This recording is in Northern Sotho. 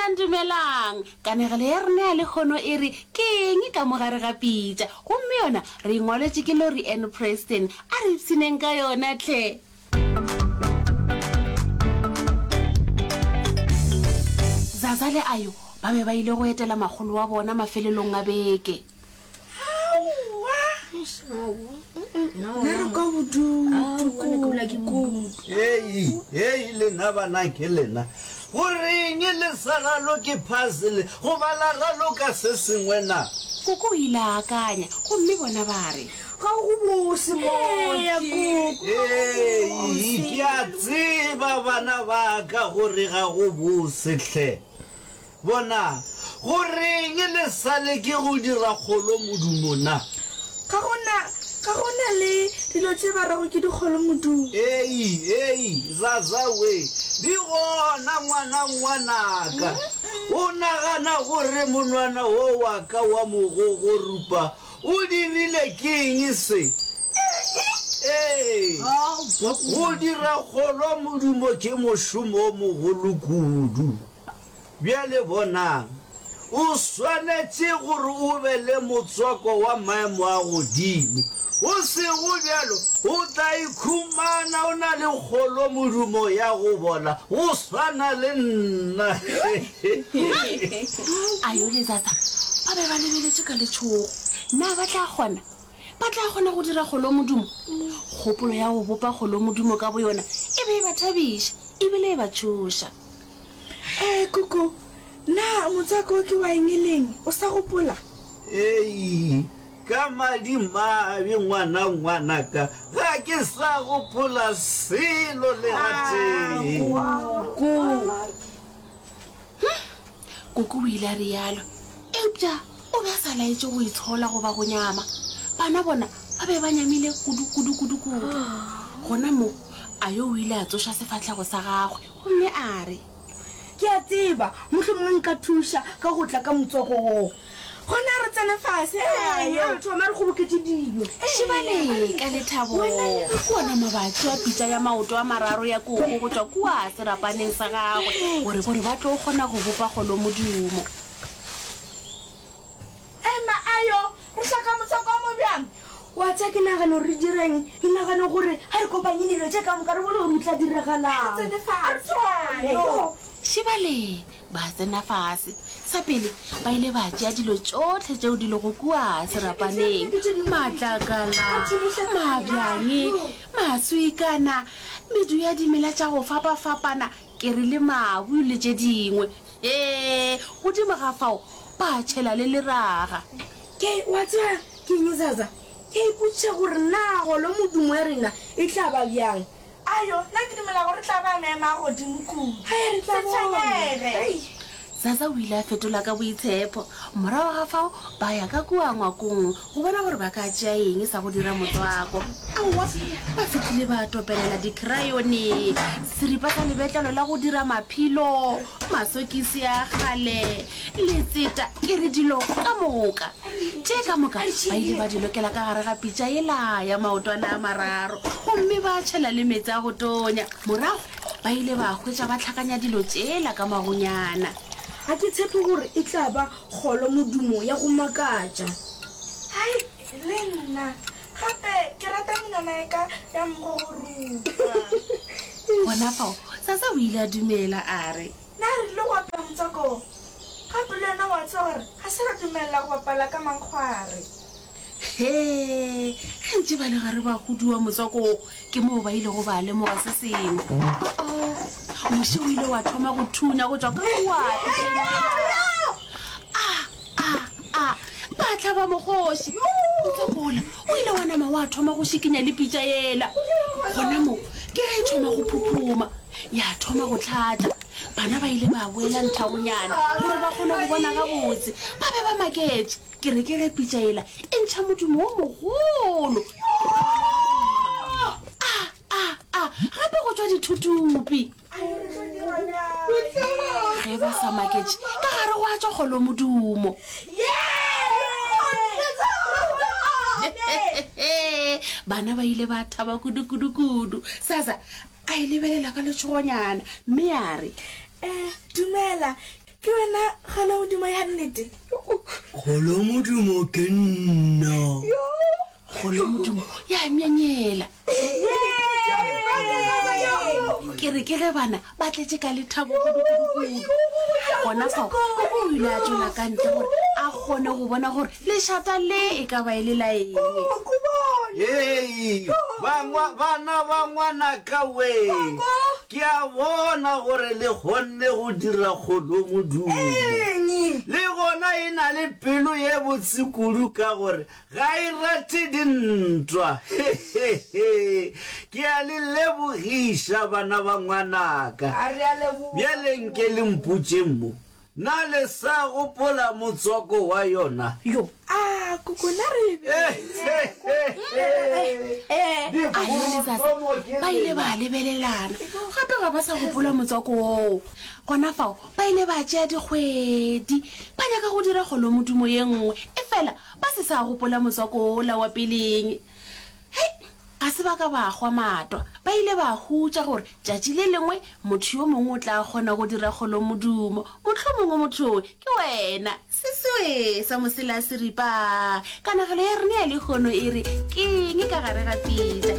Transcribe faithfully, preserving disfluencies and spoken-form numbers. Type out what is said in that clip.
Dumelang, dumelang. Kanegelo ya rena ya lehono e re Ke eng ka mo gare ga pitša? Gomme yona re e ngwaletše ke Lori Ann Preston. A re ipshineng ka yona hle. Zaza le Ayo ba be ba ile go etela makgolo wa bona mafelelong a beke. Aowa! Nna re kwa bodutu, koko. Hei, hei, lena bana ke lena. Go reng le sa raloke puzzle goba la raloka se sengwe na? Koko o ile a akanya, gomme bona ba re. Ga go bose, Mooki. Hei, ke a tseba bana ba ka gore ga go bose hle. Bonang, go reng le sa leke go dira kgolomodumo na? Ga go na, ga go na le dilo tše ba rego ke dikgolomodumo. Ei, ei, Zaza we, di gona ngwana ngwanaka. O nagana gore monwana wo wa ka wa mogogorupa o dirile ke eng se? Ee, go dira kgolomodumo ke mošomo o mogolo kudu. Bjale bonang, o swanetše gore o be le motswako wa maemo a godimo, go sego bjalo o tla ikhumana o na le kgolomodumo ya go bola go swana le nna. Ayo le Zaza ba be ba lebeletše ka letšhogo. Na ba tla kgona? Ba tla kgona go dira kgolomodumo? Kgopolo ya go bopa kgolomodumo ka boyona e be e ba thabiša e bile e ba tšhoša. Ee, Koko, na motswako wo ke wa eng e leng? O sa gopola? Ei, ka madimabe ngwana ngwanaka, ga ke sa gopola selo le gatee. Koko. Hm, Koko o ile a realo. Eupša o be a sa laetše go itshola goba go nyama. Bana bona ba be ba nyamile kudu, kudu, kudu, kudu. Gona moo, Ayo o ile a tsoša sefahlego sa gagwe gomme a re. Ke a tseba, mohlomongwe nka thuša ka go tla ka motswako wo. Gona re tsene fase, Ayo. A re thome re kgoboketše dilo. Šebale ka lethabo bona mabatši a pitša ya maoto a mararo ya koko go tšwa kua serapaneng sa gagwe gore gore ba tlo kgona go bopa kgolomodumo. Ema, Ayo, re hloka motswako o mobjang? Wa tseba ke nagana gore re direng? Ke nagana gore ga re kopanye dilo tše ka moka re bone gore o tla diragalang. A re tsene fase, Ayo. Šebale ba tsena fase. Sa pele ba ile ba tšea dilo tšohle tšeo di lego kua serapaneng, matlakala, mabjang, maswikana, medu ya dimela tša go fapafapana, ke re le mabu le tše dingwe. Ee, godimo ga fao ba tšhela le leraga. Ke, wa tseba ke eng, Zaza? Ke a ipotšiša gore na golo modumo ya rena e tla ba bjang. Ayo, nna ke dumela gore e tla ba maemo a godimo kudu. Hei, re tla Se bona. tshwenyege. Hei. Zaza o ile a fetola ka boitshepo. Morago ga fao ba ya ka kua ngwakong go bona gore ba ka tšea eng sa go dira motswako. Aowa, ba fihlile ba topelela dikrayone, seripa sa lebetlelo la go dira maphilo, masokisi a kgale, letseta, ke re dilo ka moka. Tše ka moka ba ile ba di lokela ka gare ga pitša yela ya maotwana a mararo gomme ba tšhela le meetse a go tonya. Morago ba ile ba hwetša ba hlakanya dilo tšela ka magonyana. Ga ke tshepe gore e tla ba kgolo modumo ya go makatša. Hai, le nna. Gape ke rata menwana ya ka ya mogogorupa. Gona fao, Sasa o ile a dumela a re. Na re tlile go apea motswako wo? Gape le wena wa tseba gore ga se ra dumelela go bapala ka mankgware. Hee, ge ntše ba le gare ba huduwa motswako wo, ke moo ba ilego ba lemoga se sengwe. O-o, muši o ile wa thoma go thunya go tšwa ka kua pitšeng yela. A, a, a, ba hlaba mokgoši. Motswako wola o ile wa nama wa thoma go šikinya le pitša yela. Gona moo ke ge e thoma go phuphuma, ya thoma go hlatša. Bana ba ile ba boela nthagonyana gore ba kgone go bona gabotse. Ba be ba maketše. Ke re ke ge pitša yela e ntšha modumo wo mogolo. A, a, a, gape go tšwa dithutupi. Ge ba sa maketše, ka gare gwa tšwa kgolomodumo. Bana ba ile ba thaba kudu-kudu-kudu. Sasa a e lebelela ka letšhogonyana mme a re, Eh, dumela, Ke wena Kgolomodumo ya nnete? Kgolomodumo ke nna. Kgolomodumo ya myemyela. Ke re ke ge bana ba tletše ka lethabo kudukudukudu. Gona fao, Koko o ile a tšwela ka ntle gore a kgone go bona gore lešata le e ka ba e le la eng. Hei, bangwa, bana ba ngwanaka wee! Ke a bona gore le kgonne go dira kgolomodumo. Le gona e na le pelo ye botse kudu ka gore ga e rate dintwa. Hehehe! Ke a le lebogiša, bana ba ngwanaka. Bjale nke le mpotšeng mo, Na le sa gopola motswako wa yona? Yo, a koko na re Ayo le Zaza ba ile ba lebelelana gape ga ba sa gopola motswako woo. Gona fao ba ile ba tšea dikgwedi ba nyaka go dira kgolomodumo ye nngwe, efela ba se sa gopola motswako wola wa peleng. Hei, ga se ba ka ba hwa matwa. Ba ile ba hutša gore tšatši le lengwe motho yo mongwe o tla kgona go dira kgolomodumo. Mohlomongwe motho yoo ke wena. Seswe sa mosela seripa. Kanegelo ya rena ya lehono e re, Ke eng ka gare ga pitša?